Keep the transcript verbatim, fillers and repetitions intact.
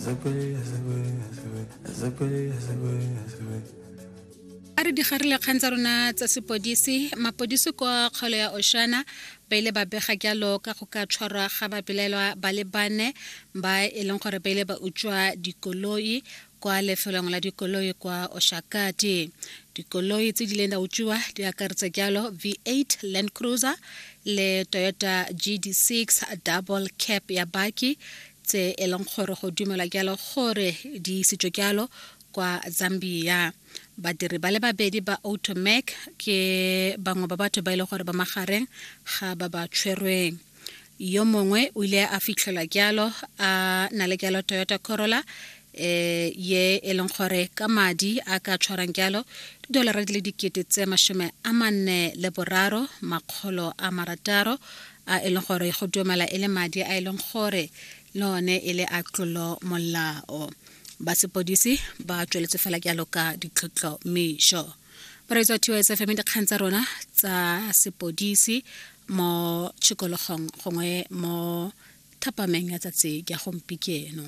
A re digarile kgang tsa rona tsa sepodisi. Mapodisi kwa kgaolo ya Oshana ba ile ba bega jalo ka go ka tshwarwa ga babelaelwa ba le bane ba e leng gore ba ile ba utswa dikoloi kwa lefelong la dikoloi kwa Oshakati. Dikoloi tse di ileng di utswiwa di akaretsa jalo V eight Land Cruiser le Toyota G D six double cab ya baki, tse e leng gore go dumelwa jalo gore di isitswe jalo kwa Zambia. Badiri ba le babedi ba Automac ke bangwe ba batho ba e leng gore ba magareng ga ba ba tshwerweng. Yo mongwe o ile a fitlhelwa jalo a na le jalo Toyota Corolla eh ye e leng gore ka madi a ka tshwarang jalo didolara di le dikete tse masome a manne le boraro makgolo a marataro, a e leng gore go dumela e le madi a e leng gore le one e le a tlolo molao. Ba sepodisi ba tsweletse fela jalo ka ditlhotlhomišo. Bareetsi wa T S F M, dikgang tsa rona tsa sepodisi mo tshikologong gongwe mo thapameng ya tsatsi ya gompieno.